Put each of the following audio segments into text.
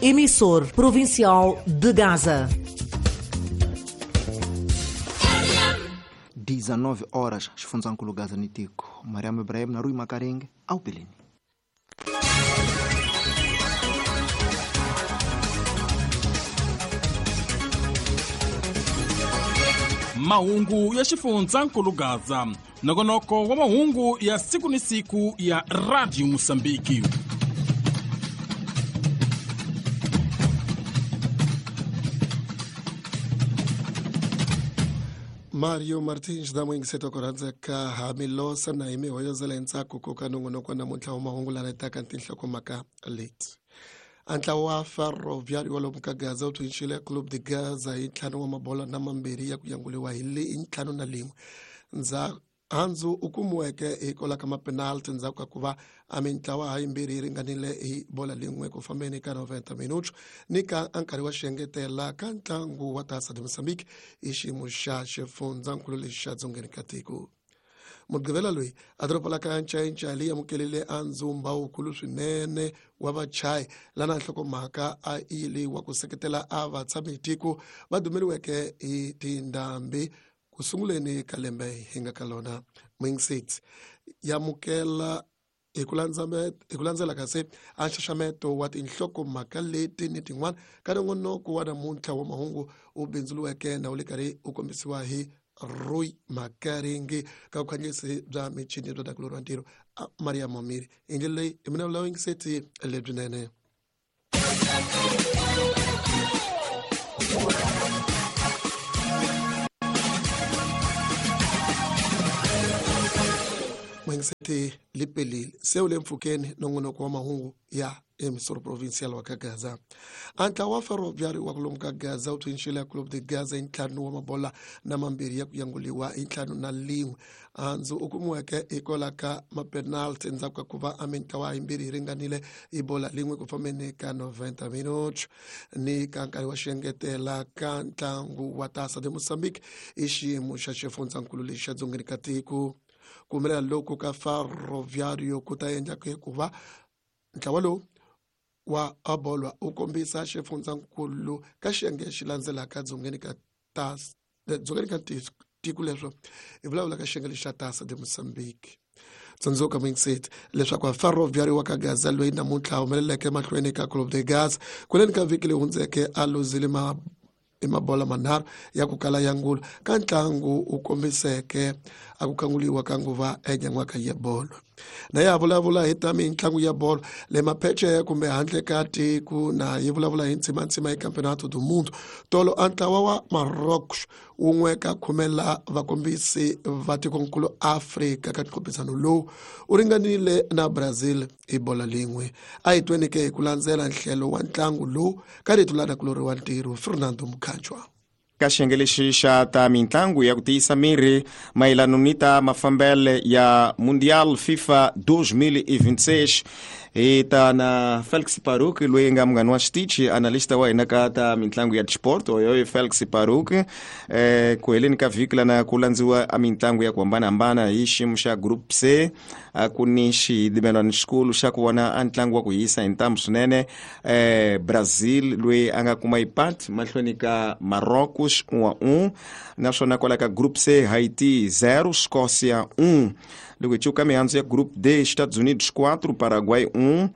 Emissor provincial de Gaza. 19 horas xifundzankulu Gaza ni tiko Mariam Ibrahim na Rui Makarenge awupeleni. Mahungu ya xifundzankulu Gaza, nongonoko wa mahungu ya siku ni siku ya Radio Mosambiki. Mario Martins damuingiseto ku rhandzeka hamilosa na hi mihoyozela hi ntsako ku ka nongonoko namuntlha wa mahungu lana taka tinhlokomhaka leti. A ntlawa wa Ferroviário wa lomu ka Gaza wu tshunxile Clube de Gaza hi 5 wa mabola na 2 ya ku yanguliwa hi 5-1. Handzu u kumiweke hi kola ka mapenalty ndzhaku ka ku va a mintlawa ha yimbirhi yi ringanile hi bola lin'we ku fambeni ka 90 minutos ni ka nkarhi wa xiengetela ka ntlangu wa Taça de Moçambique hi xiyimo xa xifundzankulu lexi xa dzongeni ka tiko. Mugqivela loyi a doroba la ka Ncayincaya leyi amukelile a ndzumba wukulu swinene wa vachayi lana nhlokomhaka a yi leyi wa ku seketela a vatshami tiko va dumeriweke hi tindhambi ku sunguleni ka lembe hi nga ka lona. Mingsit yamukela hi ku landzela kasi a nxaxameto wa tinhlokomhaka leti ni tin'wana ka nongonoko wa namuntlha wa mahungu wu bindzuriweke na wu le karhi wu kombisiwa hi Rui Makaringi ka vukhanyisi bya michini bya dakulori wa ntirho Maria Momiri. Hi ndlela leyi hi mina vula yingiseti lebyinene. Muyingiseti lipelile se wu le mpfhukeni nongonoko wa mahungu ya emissor provincial wa ka Gaza. A ntlawa wa Ferroviário wa kulomu ka Gaza wu tshunxile Clube de Gaza hi 5 wa mabola na 2 ya ku yanguliwa hi 5-1. Handzu u kumiweke hi kola ka mapenalty ndzhaku ka ku va a mintlawa yimbirhi yi ringanile hi bola lin'we ku fambeni ka 90 minutos ni ka nkarhi wa xiengetela ka ntlangu wa Taça de Moçambique hi xiyimo xa xifundzankulu lexi xa dzongeni ka tiko. Ku humelela loku ka Ferroviário ku ta endla ku va ntlawa lowu wa abolwa wu kombisa xifundzankulu ka xiyenge xi landzelaka dzongeni ka dzongeni ka tiko leswo hi vulavula ka xiyenge lexi xa Taça de Moçambique. Tsundzuka muyingiseti leswaku Ferroviário wa ka Gaza loyi namuntlha humeleleke mahlweni ka Clube de Gaza kuleni ka vhiki leyi hundzeke a luzile i mabola manharhu ya ku kala ya ngulu ka ntlangu wu kombiseke a ku khanguliwa ka nguva enyan'waka ya bolo. Na ya vulavula hi ta mitlangu ya bolo le mapheceya kumbe handle ka tiko na yi vulavula hi ntsimantsima hi Campeonato do Mundo. Tolo a ntlawa wa Marrocos wun'we ka khumela vakombisi va tikonkulu Afrika ka nkhumpisano lowu wu ringanile na Brazil hi bola lin'we. A hi tweni ke hi ku landzela nhlelo wa ntlangu lowu ka rito la nakulori wa ntirho Fernando Mukhanjwa. Ka xiyenge lexi xa ta mitlangu ya ku tiyisa miri mayelano ni ta mafambele ya Mundial FIFA 2026 hi ta na Felix Paruk loyi nga munghani wa xitichi analysta wa hina ka ta mitlangu ya sport oyo Felix Paruk. Ku heleni ka vhiki lana ku landziwa a mitlangu ya ku hambanahambana hi xiyimo xa Group C a ku ni xidimelwano xikulu xa ku vona a ntlangu wa ku hisa hi ntambu swinene. Brazil loyi a nga kuma ipat mahlweni ka Marrocos 1-1 naswona kwala ka Group C Haiti 0 Escócia 1. Loko hi cuka mihandzu ya Group D Estados Unidos 4 Paraguay 1.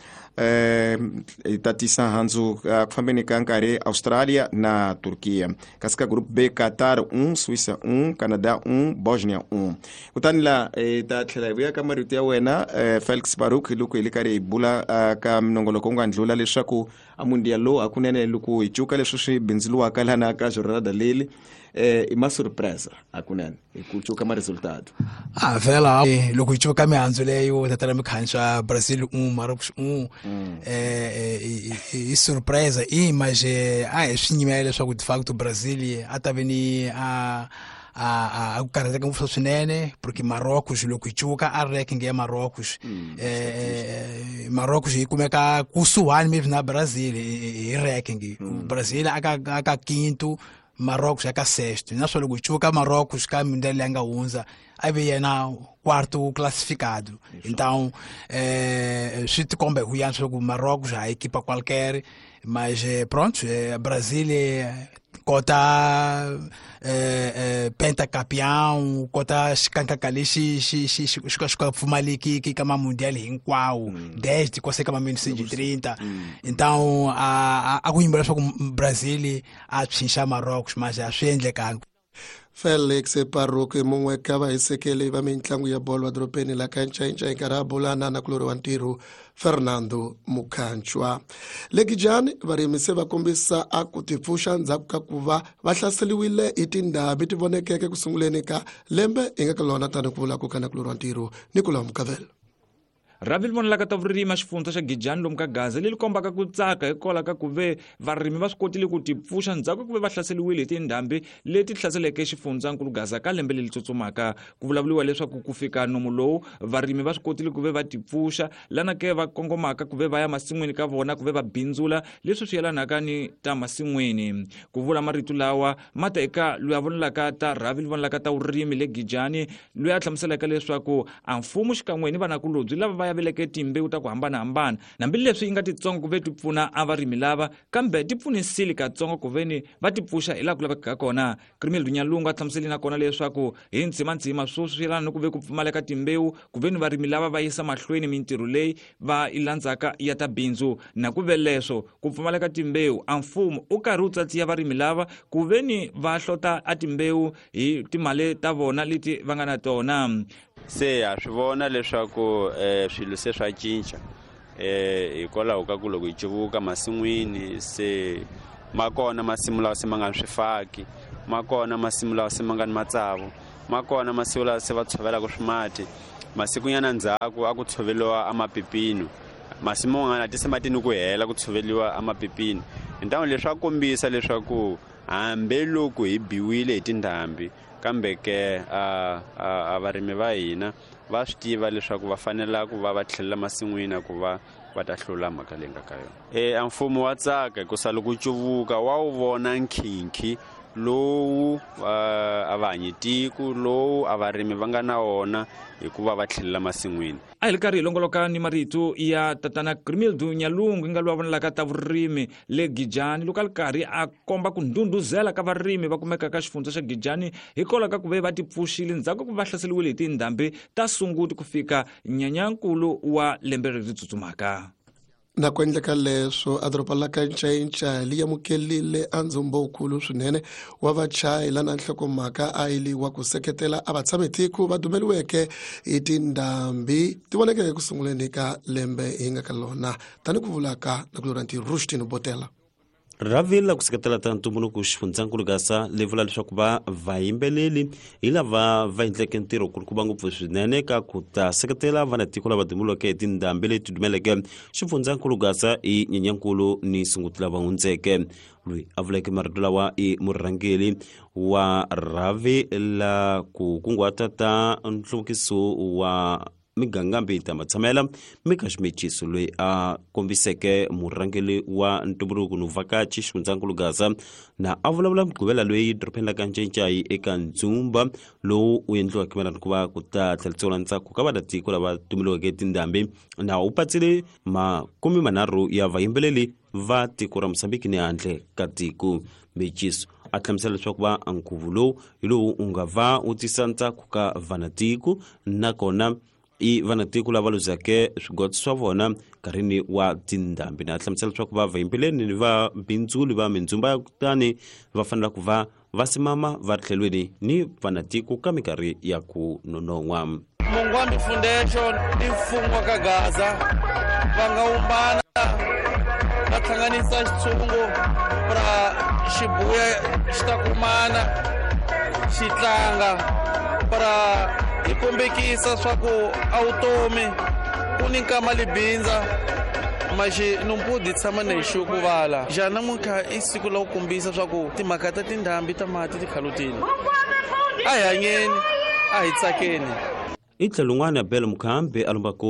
Hi ta tisa handzu ku fambeni ka nkarhi Australia na Turkiya. Kasi ka Group B Qatar 1 Suíça 1 Canada 1 Bosnia 1. Kutani la hi ta tlhela hi vuya ka marito ya wena Felix Baruk loko hi le karhi hi bula ka minongoloko wu nga ndlula leswaku a mundial lowu hakunene loko hi cuka leswi swi bindzuriwaka lana ka jornada leli i ma surpresa hakunene hi ku cuka ma resultado. Vhela loko hi cuka mihandzu leyo tatana mikhanswa Brazil 1 Marrocos 1 i surpresa i mas a hi swi nyimela leswaku de facto Brazil a ta ve ni a ku karhateka ngopfu swinene porque Marrocos loko hi cuka a ranking ya Marrocos Marrocos yi kumeka kusuhani maybe na Brazil hi ranking. Brazil aka quinto, Marrocos aka sexto. Naswona loko hi cuka Marrocos ka mundial leyi nga hundza a ve yena quarto classificado. Então swi tikomba hi ku yantswa ku Marrocos a equipa qualquer. Mas pronto, Brasil kota pentacampeão, kota xikankaka lexi xi xi xi xi ka pfumaleki ka ma mundial hinkwawo desde quase ka ma 1930. Então a ku yimbela leswaku Brazil a tshinxa Marrocos, mas a swi endlekanga. Felix Paruk mungwe ka vahisekeli va mitlangu ya bolo edorobeni la ka Ncainca hi nkarhi a bulana na kulori wa ntirho Fernando Mukhanchwa. Le Gijani varimi se va kombisa a ku tipfuxa ndzhaku ka ku va va hlaseriwile hi tindhambi ti vonekeke ku sunguleni ka lembe hi nga ka lona, tani ku vula ku ka na kulori wa ntirho Nicolas Mukavelo. Rhavi ri vonelaka ta vurimi xifundza xa Gijani lomu ka Gaza leri kombaka ku tsaka hikwalaho ka ku ve varimi va swi kotile ku tipfuxa ndzhaku ku ve va hlaseriwile hi tindhambi leti hlaseleke xifundzankulu Gaza ka lembe leri tsutsumaka. Ku vulavuriwa leswaku ku fika nomu lowu varimi va swi kotile ku ve va tipfuxa lana ke va kongomaka ku ve va ya masin'wini ka vona ku ve va bindzula leswi swi yelanaka ni ta masin'wini. Ku vula marito lawa ma ta eka loyi a vonelaka ta rhavi ri vonelaka ta vurimi le Gijani, loyi a hlamuselaka leswaku a mfumo xikan'we ni vanakulobye lava va veleke timbewu ta ku hambanahambana hambileswi yi nga titsongo ku ve ti pfuna a varimi lava, kambe ti pfunisile katsongo ku veni va ti pfuxa hi laha ku lavekaka kona. Krimel Dunyalungu a hlamuseli na kona leswaku hi ndzimandzima sweswi swi yelana ni ku ve ku pfumaleka timbewu ku veni varimi lava va yisa mahlweni mintirho leyi va yi landzaka ya ta bindzu, na ku ve leswo ku pfumaleka timbewu a mfumo u karhi wu tsatsiya varimi lava ku veni va hlota a timbewu hi timali ta vona leti va nga na tona. Se ha swi vona leswaku swilo se swa cinca hikwalaho ka ku loko hi cuvuka masin'wini se ma kona masimu lawa se ma nga ni swifaki, ma kona masimu lawa se ma nga ni matsavu, ma kona masimu lawa se va tshovelaka swimati. Masikunyana ndzhaku a ku tshoveriwa a mapipino, masimu man'wana a ti se ma ti ni ku hela ku tshoveriwa a mapipino. Hintamu leswi swa kombisa leswaku hambiloko hi biwile hi tindhambi, kambe ke a varimi va hina va swi tiva leswaku va fanela ku va va tlhelela masin'wini ku va va ta hlula mhaka leyi nga ka yona. A mfumo wa tsaka hikusa loko cuvuka wa wu vona nkhinkhi lowu a va hanyi tiko lowu a varimi va nga na wona hikuva va tlhelela masin'wini. A hi ri karhi hi longoloka ni marito ya tatana Krimildu Nyalungu nga loyi a vonelaka ta vurimi le Gijani, loko a ri karhi a komba ku ndhundhuzela ka varimi va kumeka ka xifundza xa Gijani hikwalaho ka ku ve va tipfuxile ndzhaku ku va hlaseriwile hi tindhambi ta Sunguti ku fika nyanyankulu wa lembe leri tsutsumaka. Na ku endleka leswo a doroba la ka Ncainca li amukelile a ndzumbo wukulu swinene wa vachayi lana nhlokomhaka a yi li wa ku seketela a vatshamitiko va dumeliweke hi tindhambi ti vonekeke ku sunguleni ka lembe hi nga ka lona, tani ku vulaka na ku lora ntirho Rushtino Botela. Rhavi la ku seketela ta ntumbuluko xifundzankulu Gaza li vula leswaku va vayimbeleli hi lava va endleke ntirho kulukumba ngopfu swinene ka ku ta seketela vanatiko lava dumuleke hi tindhambi leti dumeleke xifundzankulu Gaza hi Nyenyankulu ni Sunguti lava hundzeke. Loyi a vuleke marito lawa i murhangeri wa rhavi la ku kunguhata ta nhluvukiso wa migangambi ta matshamela Mika Ximeciso, loyi a kombiseke murhangeri wa ntumbuluko no vhakachi xifundzankulu Gaza na a vulavula mugqivela loyi dorobeni la ka Ncaincayi eka ndzumba lowu wu endliwaka mayelana ku va ku ta tlheriseriwa ntsako ka vamatiko lava tumeliweke tindhambi, na wu patsile 30 ya vayimbeleli va tiko ra Mozambique ni handle ka tiko. Meciso a hlamusela leswaku va nkhuvo lowu hi lowu wu nga va wu tisa ntsako ka vanatiko, nakona i vanatiko lava luzeke swigoto swa vona nkarhini wa tindhambi, na hlamusela leswaku va vayimbeleli ni va bindzuli va mindzumba ya kutani va fanela ku va va simama va ri tlhelweni ni vanatiko ka minkarhi ya ku nonon'hwa. Mungwambi Foundation i mfumo wa ka Gaza va nga wumbana va hlanganisa xitshungu ra xibuya xi ta kumana xi tlanga para hi kombekisa swa ku a vutomi ku ni nkama libindza maxi numpudi tshama na hi xuku vala ja namuntlha i siku la ku kombisa swa ku timhaka ta tindhambi ta mati ti khalutile. A hi hanyeni, a hi tsakeni. I tlhelo rin'wana Abel Mukhambi a lombaka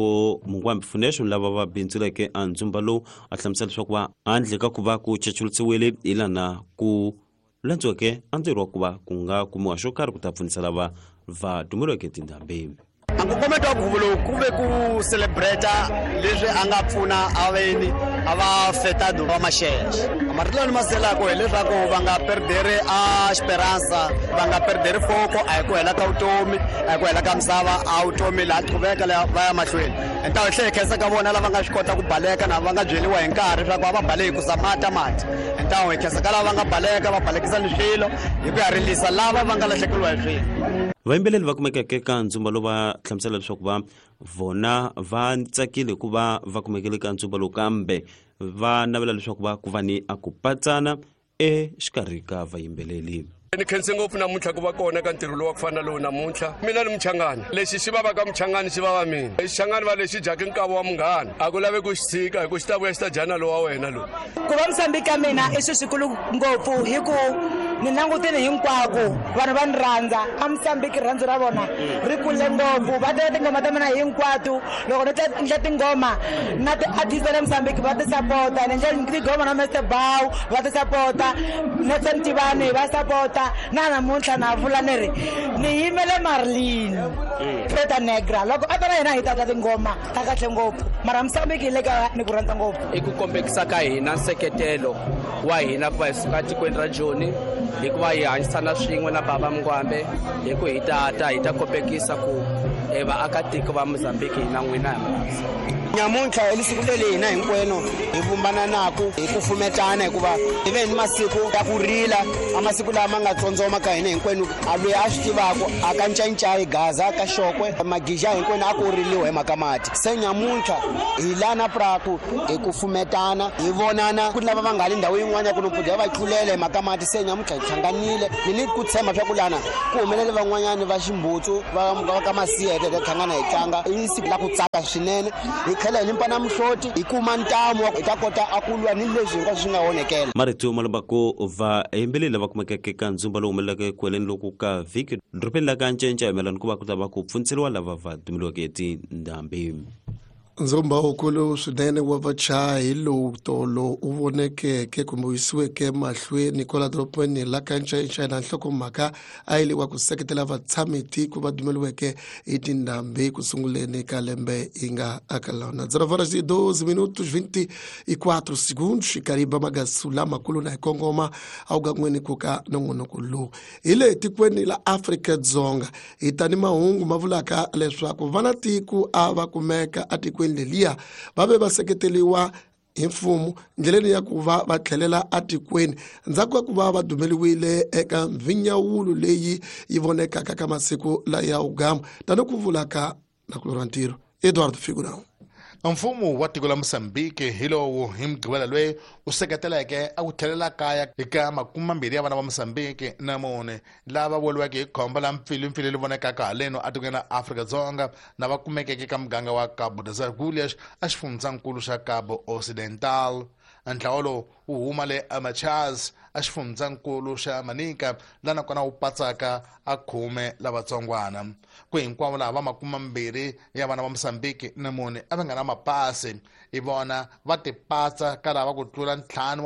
Mungwambi Foundation lava va bindzuleke a ndzumba lowu, a hlamusela leswaku va handle ka ku va ku chachulisiwile hi lana ku landziweke a ntirho wa ku va ku nga kumiwa xo karhi ku ta pfunisa lava va dumeliweke tindhambi. A nkongometo wa nkhuvo lowu ku ve ku celebrate leswi a nga pfuna aveni A va afetado va maxexe. Marito lawa ni ma selaka hileswaku va nga perderi a esperanza, va nga perderi foko, a hi ku hela ka vutomi, a hi ku hela ka misava, a vutomi laha qhuveka laha va ya mahlweni. Hi ta hi tlhela hi khensa ka vona lava nga swi kota ku baleka na va nga byeriwa hi nkarhi leswaku a va baleki ku za mati mati. Hi ta hi khensa ka lava va nga baleka va balekisa ni swilo hi ku ya rilisa lava va nga lahlekeriwa hi swilo. Vayimbeleri va kumekeke ka ndzumba lowu va hlamusela leswaku va vona va tsakile ku va va kumekile ka ndzumba lowu, kambe va navela leswaku va ku va ni a ku patsana exikarhi ka vayimbeleri. Ni khense ngopfu namuntlha ku va kona ka ntirho lowu wa ku fana na lowu namuntlha. Mina ni Muchangani, lexi xi vavaka Muchangani xi vava mina. Xichangani va lexi dyaka nkava wa munghana, a ku lavi ku xi tshika hi ku xi ta vuya xi ta dya na lowa wena lowu. Ku va Mozambique ka mina i swilo swikulu ngopfu hi ku ni langutile hinkwako vanhu va ni rhandza. A Mozambique rirhandzu ra vona ri kule ngopfu, va tiva tinghoma ta mina hinkwato. Loko ni endla tinghoma na ti-artist ta le Mozambique va ti sapota, ni endla tinghoma na Mr Bow va ti sapota, Nelson Tivani va sapota. Na namuntlha na vula ni ri ni yimele Marlene Preta Negra, loko a ta na yena hi ta tla tinghoma ta kahle ngopfu. Mara Mozambique hi le ka ni ku rhandza ngopfu. I ku kombekisa ka hina nseketelo wa hina ku va hi suka tikweni ra Joni, hikuva hi hanyisana swin'we na baba Mngwambe, hi ku hi tata hi ta kombekisa ku vaakatiko va Mozambique hina n'wina hi rhandza. Nyamuntlha i siku leri hina hinkwenu hi vumbananaku hi ku fumetana, hikuva hi ve ni masiku ya ku rila, a masiku lama nga tsondzoma ka hina hinkwenu. A loyi a swi tivaku a ka Ncayicayi, Gaza, ka Xokwe, Magija hinkwenu a ku riliwa hi mhaka mati. Se nyamuntlha hi lana praku hi ku fumetana, hi vonana ku lava va nga le ndhawu yin'wana ya ku nompfudza va tlulela hi mhaka mati. Se nyamuntlha hi hlanganile, ni ni ku tshemba swa ku lana ku humelele van'wanyani va Ximbutsu va ka Masiya, hi ta hlangana hi tlanga. I siku la ku tsaka swinene, hi tlhela hi limpa na mihloti, hi kuma ntamu hi ta kota a ku lwa ni leswi hinkwaswo swi nga onhekela. Marito ma lombaku vayimbeleri lava kumekeke ka ndzumba lowu humeleleke eku heleni loku ka vhiki dorobeni la ka Ncenca hi mayelana ku va ku ta va ku pfuniseriwa lava va dumeliweke hi tindhambi. Ndzumba wukulu swinene wa vachayi lowu tolo u vonekeke kumbe wu yisiweke mahlweni kwala dorobeni la ka Ncayicayi na nhlokomhaka a yi le wa ku seketela vatshami-tiko va dumeliweke hi tindhambi ku sunguleni ka lembe yi nga aka lona. 0 horas e 12 minutos 24 segundos. Kariba magasu lamakulu na hi kongoma a wu gan'weni ku ka nongonoko lowu hi le tikweni la Afrika-Dzonga. Hi ta ni mahungu ma vulaka leswaku vana tiko a va kumeka atikweni leliya va ve va seketeriwa hi mfumo ndleleni ya ku va va tlhelela atikweni ndzhaku ka ku va va dumeliwile eka mvinyawulo leyi yi vonekaka ka masiku laya wugamu, tani ku vulaka nakulorha ra ntirho Edward Figurão. Mfumo wa tiko la Mozambique hi lowu hi Mugqivela loyi u seketeleke a ku tlhelela kaya eka 20 ya vana va Mozambique na mune lava weriweke hi khombo la mpfilimpfili leri vonekaka haleno atikweni ra Afrika-Dzonga, na va kumekeke ka muganga wa Cabo das Agulhas a xifundzankulu xa Cabo Ocidental. Ntlawa lowu wu huma le Amachaz a xifundzankulu xa Manica, laha nakona wu patsaka a 10 lavatsongwana. Ku hinkwavo lava va 20 ya vana va Mozambique na mune a va nga na mapasi, hi vona va tipatsa ka lava ku tlula 500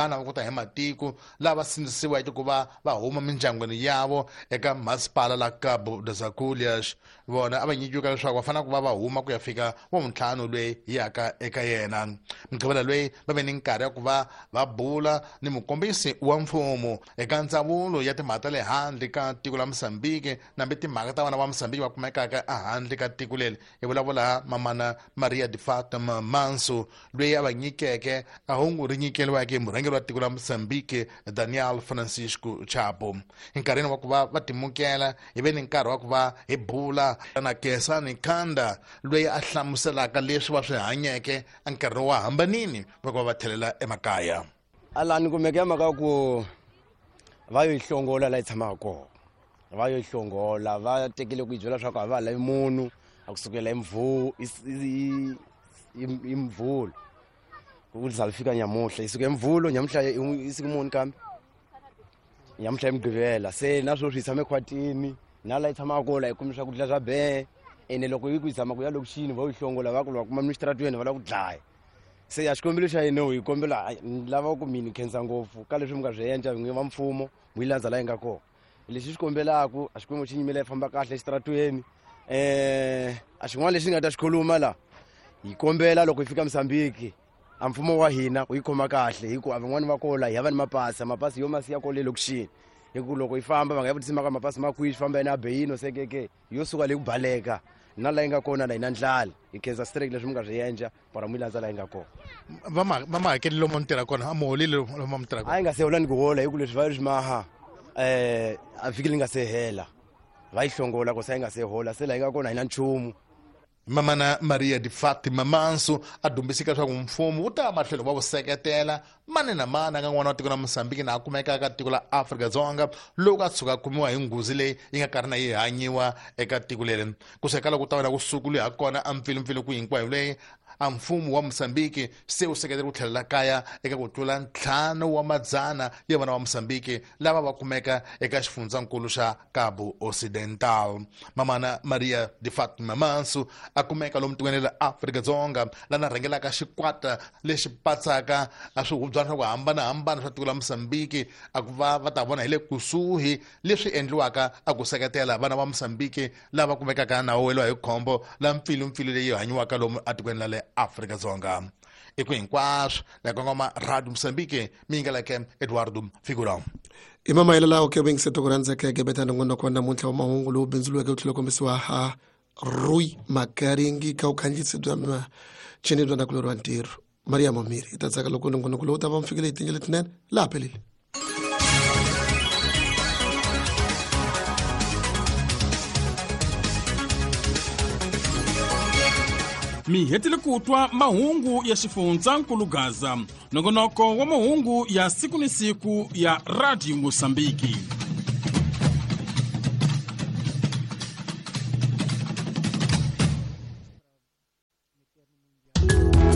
va ku ta hi matiko lava sindzisiweke ku va va huma mindyangwini yavo eka masipala la Cabo das Agulhas. Vona a va nyikiwaka leswaku va fanele ku va va huma ku ya fika wa vuntlhanu loyi yaka eka yena. Mugqivela loyi va ve ni nkarhi ya ku va va bula ni mukombisi wa mfumo eka ndzawulo ya timhaka ta le handle ka tiko la Mozambique, nambi timhaka ta vana va Mozambique va kumekaka ehandle ka tiko leri, hi vulavula mamana Maria de Fatima Manso, loyi a va nyikeke a hungu ri nyikeliweke hi murhangeri wa tiko la Mozambique Daniel Francisco Chapo. Enkarhini wa ku va va timukela, hi ve ni nkarhi wa ku va hi bula na Kesani Kanda, loyi a hlamuselaka leswi va swi hanyeke nkarhi wa hambanini va ku va va tlhelela emakaya. Ala ni kumeke ya mhaka ku va yo yi hlongola laha yi tshamaka kona, va yo yi hlongola, va tekile ku yi byela leswaku a va ha lavi munhu a kusukela hi hi Mvhulo ku za fika nyamuhla. Yi suka hi Mvhulo, nyamuhla i siku muni kambe? Nyamuhla hi Mugqivela. Se na sweswi hi tshame khwatini na laha yi tshamaka kona, la hi kumi swakudya swa be ene loko yi ku yi zama ku ya lokixini va yi hlongola, va ku va kuma mixitaratweni va lava ku dlaya. Se a xikombelo xa hina hi kombela ni lava ku mi ni khensa ngopfu ka leswi mi nga swi endla n'wini va mfumo, mu yi landza laha yi nga kona. Lexi xi kombelaku a Xikwembu xi nyimela yi famba kahle exitaratweni. A xin'wana lexi ni nga ta xi khuluma la, hi kombela loko hi fika Mozambique A mfumo wa hina wu yi khoma kahle hi ku a van'wani va kola hi hava ni mapasi, mapasi yo masi ya kole lokixini, hi ku loko yi famba va nga yi vutisi maka mapasi ma kwihi, swi famba yena abeyino sekeke yo suka leyi ku baleka na laha yi nga kona la yi na ndlala. Hi khensa straight leswi mi nga swi endla para mi landza laha yi nga kona. Va ma hakeli lomu mi tirha kona? A mi holile lomu mi tirha kona? A yi nga se hola ni ku hola, hi ku leswi va swi maha a vhiki li nga se hela va yi hlongola ku se yi nga se hola, se laha yi nga kona hi na nchumu. Mamana Maria de Fatima Manso a dumbisika leswaku mfumo wu ta matlhelo va wu seketela mani na mani a nga n'wana wa tiko la Mosambiki na a kumeka ka tiko la Afrika-Dzonga loko a tshuka a kumiwa hi nghozi leyi yi nga karhi na yi hanyiwa eka tiko leri. Kusuka loko ku ta va na kusuku loyi ha kona a mpfilumpfilu ku hinkwayo leyi a mfumo wa Mosambiki se wu seketela ku tlhelela kaya eka ku tlula 500 ya vana va Mosambiki lava va kumeka eka xifundzankulu xa Cabo Ocidental. Mamana Maria de Fatima Manso a kumeka lomu tikweni ra Afrika-Dzonga lana rhangelaka xikwata lexi patsaka a swihubyana swa ku hambanahambana swa tiko la Mosambiki, a ku va va ta vona hi le kusuhi leswi endliwaka a ku seketela vana va Mosambiki lava kumekaka na weliwa hi khombo la mpfilumpfilu leyi hanyiwaka lomu atikweni la le Afrika-Dzonga. I ku hinkwaswo la kongoma Radio Mosambiki mi yingeleke Eduardo Figurão. I mamayelo lawo ke vuyingiseti ku rhandzekeke beta nongonoko wa namuntlha wa mahungu lowu bindzuriweke wu tlhela kombisiwa ha Rui Makaringi ka vukhandziyisi bya machini bya nakulorhi wa ntirho Maria Mamiri. Hi ta tsaka loko nongonoko lowu ta va mi fikile hi tindlela letinene laha pelile. Mi hetile ku twa mahungu ya xifundzankulu Gaza, nongonoko wa mahungu ya siku ni siku ya Radio Mosambiki.